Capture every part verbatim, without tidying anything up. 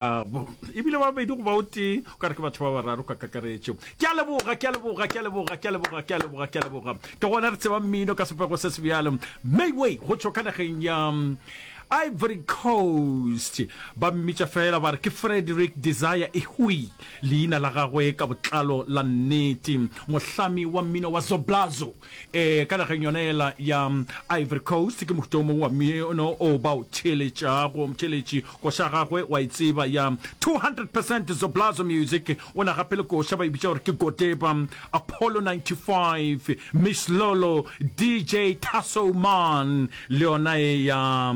Bo, ebile ba babedi goba o tee, o ka re ke batho ba bararo ka kakaretšo. Ke a leboga, ke a leboga, ke a leboga, ke a leboga, ke a leboga, ke a leboga. Ke gona re tseba mmino ka sepego se se bjalo. Mayway go tšwa ka nageng ya Ivory Coast. Ba mmitša fela ba re ke Frederick Desire Ehui, leina la gagwe ka botlalo la nnete. Mohlami wa mmino wa Zoblazo. Ee, ka nageng yona yela ya Ivory Coast, ke mohuta o mongwe wa mmino o ba o theeletšago. Motheeletši, koša ya gagwe wa e tseba ya two hundred percent Zoblazo Music. O na gape le koša ba e bitša gore ke Godeba, Apollo ninety five, Miss Lolo, D J Tasso Man, le yona e ya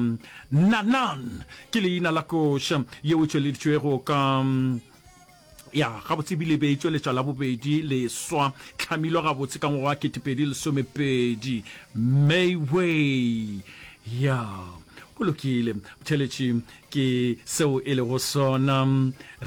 Nanan ke leina la koša yeo e tšweleditšwego ka Ya, gabotse ebile e be e tšweletšwa la bobedi leswa, hlamilwe gabotse ka ngwaga wa ketepedi lesomepedi. Mayway. Ya, go lokile. Motheeletši, ke seo e lego sona.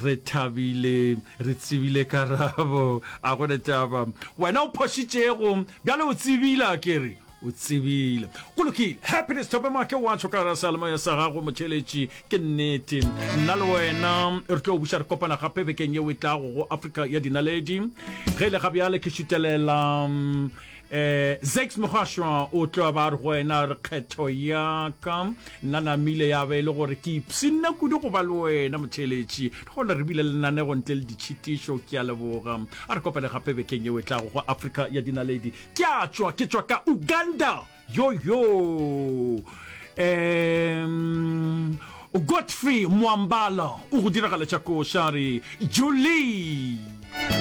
Re thabile, re tsebile karabo. A go ne taba. Wena o phošitšego, bjale o tsebile, a ke re? O tsebile. Go lokile. Happiness Thobemake wa tšho ka seyalemoya sa gago, motheeletši. Ke nnete. Nna le wena re tlo buša re kopana gape bekeng yeo e tlago go Afrika ya Dinaledi. Ge e le ga bjale ke šutelela um Zakes Mogashwa o tlo ba re go wena re kgetho ya ka. Nna namile ya be e le gore ke ipshinne kudu go ba le wena motheeletši. Gona re bile lenanego ntle le ditšhitišo. Ke a leboga. A re kopane gape bekeng yeo e tlago go Afrika ya Dinaledi. Ke a tšwa, ke tšwa ka Uganda. Yo yo. Um Godfrey Mwambala o go diragaletša koša re Julie.